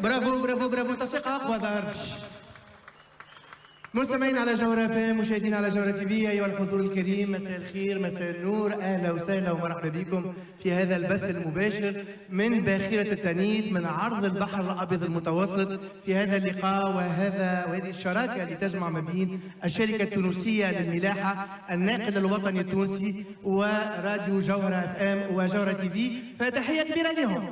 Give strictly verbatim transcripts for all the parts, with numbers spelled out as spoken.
bravo bravo bravo، تصفيق اقوى ظهر. مستمعين على جوهرة اف ام، مشاهدين على جوهرة تي في، ايها الحضور الكريم، مساء الخير، مساء النور، اهلا وسهلا ومرحبا بكم في هذا البث المباشر من باخرة التانيت من عرض البحر الابيض المتوسط، في هذا اللقاء وهذا وهذه الشراكة اللي تجمع ما بين الشركة التونسية للملاحة، الناقل الوطني التونسي، وراديو جوهرة اف ام وجوهرة تي في، فتحية كبيرة لهم.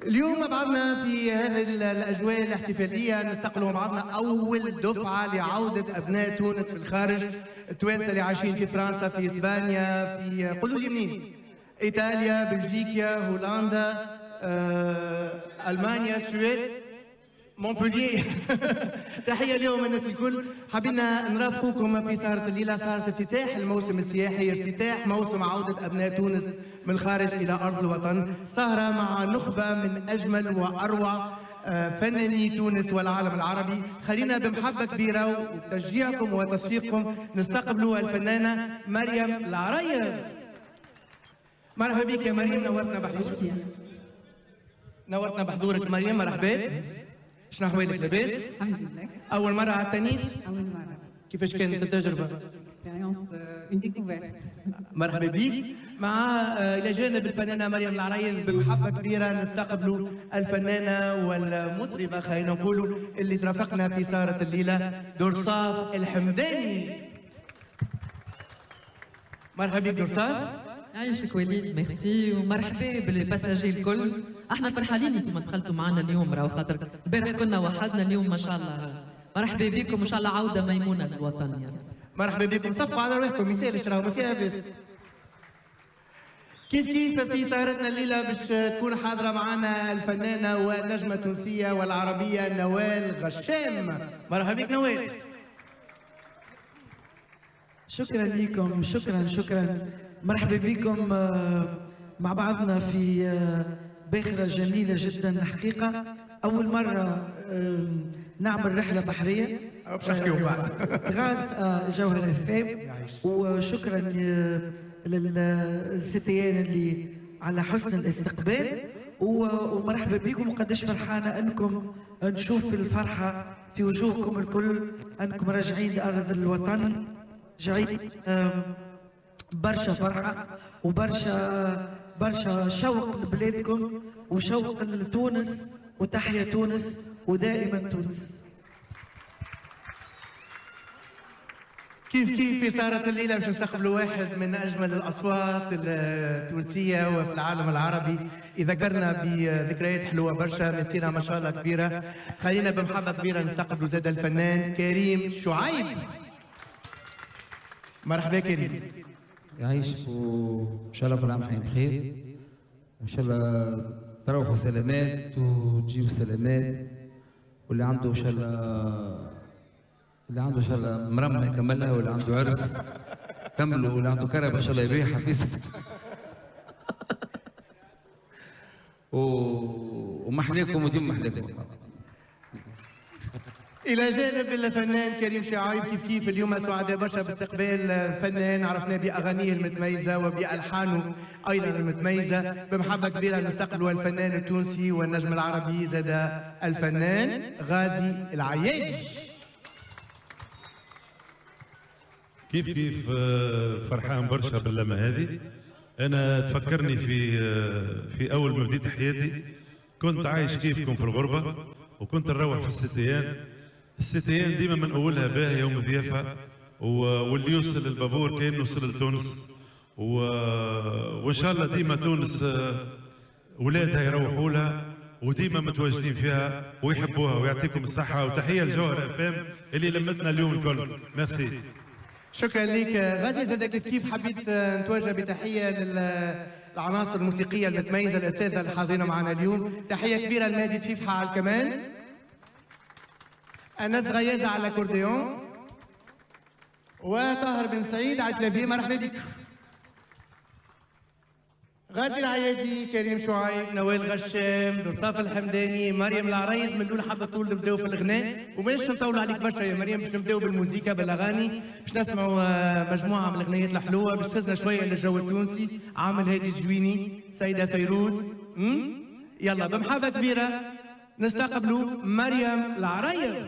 اليوم مع بعضنا في هذه الاجواء الاحتفالية نستقبل مع بعضنا اول دفعه لعودة ابناء تونس في الخارج، التوانسة اللي عايشين في فرنسا، في اسبانيا، في قولوا لي منين؟ ايطاليا، بلجيكا، هولندا، آه، المانيا، السويد، مونبولييه. تحية اليوم الناس الكل، حبينا نرافقكم في سهره الليلة، سهره افتتاح الموسم السياحي، افتتاح موسم عوده ابناء تونس من الخارج الى ارض الوطن، سهره مع نخبة من اجمل واروع فناني تونس والعالم العربي. خلينا بمحبة كبيرة وتشجيعكم وتصفيقكم نستقبلوا الفنانة مريم العريض. مرحبا بك يا مريم، نورتنا بحضورك. نورتنا بحضورك مريم، مرحبا. شنو احوالك، لاباس؟ الحمد لله. اول مرة على التانيت؟ اول مرة. كيفاش كانت التجربة؟ expérience، une découverte. مرحبا بك. مع الى جانب الفنانة مريم العريض بمحبة كبيرة نستقبلوا الفنانة والمطربه، خلينا نقولوا، اللي ترافقنا في سهره الليلة، درصاف الحمداني. مرحبا بك درصاف. يعيشك وليد، ميرسي، ومرحبا بال passagers الكل. احنا فرحانين انتم دخلتوا معنا اليوم، راهو خاطر البارح كنا وحدنا، اليوم ما شاء الله مرحبا بكم، وان شاء الله عوده ميمونة للوطن يا رب. مرحبا بكم، صفقوا على روحكم، ما يسالش راهو ما فيها بس. كيف كيف في سهرتنا الليلة باش تكون حاضره معنا الفنانة والنجمه التونسية والعربية نوال غشام. مرحبا بك نوال. شكرا لكم، شكرا شكرا، مرحبا بكم مع بعضنا في باخرة جميلة جدا. الحقيقة أول مرة نعمل رحلة بحرية باش نحكيو بعد grâce à جوهرة اف ام، وشكرا لل CTN اللي على حسن الاستقبال، ومرحبا بكم. وقداش فرحانة أنكم نشوف الفرحة في وجوهكم الكل، أنكم راجعين لأرض الوطن، راجعين برشا فرحة وبرشا برشا شوق لبلادكم وشوق لتونس، وتحيا تونس ودائما تونس. كيف كيف في سهرة الليلة باش نستقبلوا واحد من أجمل الأصوات التونسية وفي العالم العربي، يذكرنا بذكريات حلوة برشا، مسيرة ما شاء الله كبيرة. خلينا بمحبة كبيرة نستقبلوا زاد الفنان كريم شعيب. مرحبا كريم. يعيشك، وان شاء الله كل عام وانتم بخير، وان شاء الله تروحوا سلامات وتجيبوا سلامات، واللي عنده ان شاء الله اللي عنده ان شاء الله مرمى يكملها، واللي عنده عرس كملوا، واللي عنده كربه ان شاء الله يبيعها في سك. و... ومحليكم وديما محليكم. إلى جانب الفنان كريم شعيب، كيف كيف اليوم سعداء برشا باستقبال فنان عرفناه بأغانيه المتميزة وبألحانه أيضا المتميزة. بمحبة كبيرة نستقبل الفنان التونسي والنجم العربي زاد الفنان غازي العيادي. كيف كيف فرحان برشا باللمة هذه. أنا تفكرني في في أول ما بديت حياتي، كنت عايش كيفكم في الغربة، وكنت نروح في ال CTN. ال CTN ديما من اولها باهيه ومضيافه، واللي يوصل للبابور كانه وصل لتونس، وان شاء الله ديما تونس ولادها يروحوا لها وديما متواجدين فيها ويحبوها، ويعطيكم الصحة، وتحية لجوهرة اف ام اللي لمتنا اليوم الكل. ميرسي. شكرا لك غازي. زاد كيف كيف حبيت نتوجه بتحية للعناصر الموسيقية المتميزة، الاساتذة الحاضرين معنا اليوم. تحية كبيرة لمهدي تفيفحه على الكمان، أنس غيازة على الأكورديون، وطاهر بن سعيد على ال clavier. مرحبا بك. غازي العيادي، كريم شعيب، نوال غشام، درصاف الحمداني، مريم العريض. من الاول حابة طول نبداو في الغناء، ومانيش نطولوا عليك برشا يا مريم، باش نبداو بالموسيقى بالاغاني، باش نسمعوا مجموعة من الاغنيات الحلوة باش تهزنا شوية للجو التونسي. عامل هادي الجويني، سيده فيروز، يلا بمحبة كبيرة نستقبلوا مريم العريض.